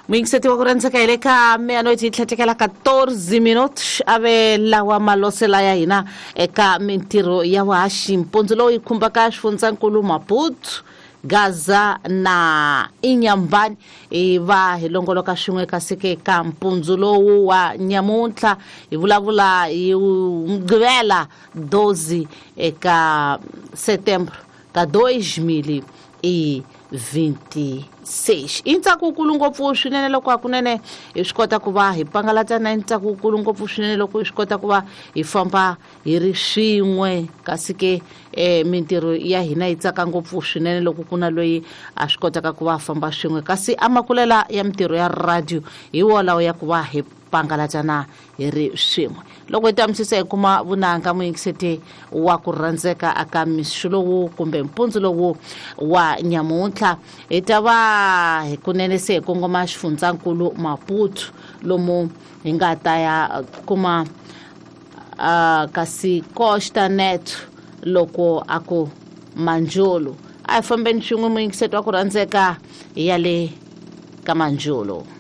Muyingiseti wa ku rhandzeka, hi le ka meia-noite yi tlhetekela 14 minutos. A ve lawa malosela ya hina eka mintirho ya vuhaxi mpundzu lowu yi khumbaka xifundzankulu Maputo, Gaza na Inyambani. Hi va hi longoloka swin'we, kasi ke ka mpundzu lowu wa nyamuntlha hi vulavula hi Mugqivela 12 eka setembro ka 2026. I ntsako wukulu ngopfu swinene loko hakunene hi swi kota ku va hi pangalata, na ntsako wukulu ngopfu swinene loko hi swi kota ku va hi famba hi ri swin'we. Kasi ke mintirho ya hina yi tsaka ngopfu swinene loko ku na loyi a swi kotaka ku va famba swin'we, kasi amakulela ya mintirho ya radio hi wolawo ya ku va hi pangalatana hi ri swin'we. Loko hi tamisisa hi kuma vunanga, muyingiseti wa ku rhandzeka, aka mixo lowu kumbe mpundzu lowu wa nyamuntlha hi ta va hi kunene se hi kongoma xifundzankulu Maputo, lomu hi nga ta ya kuma kasi Costa Net loko a ku Manjolo. A hi fambeni swin'we, muyingiseti wa ku rhandzeka, ya le ka Manjolo.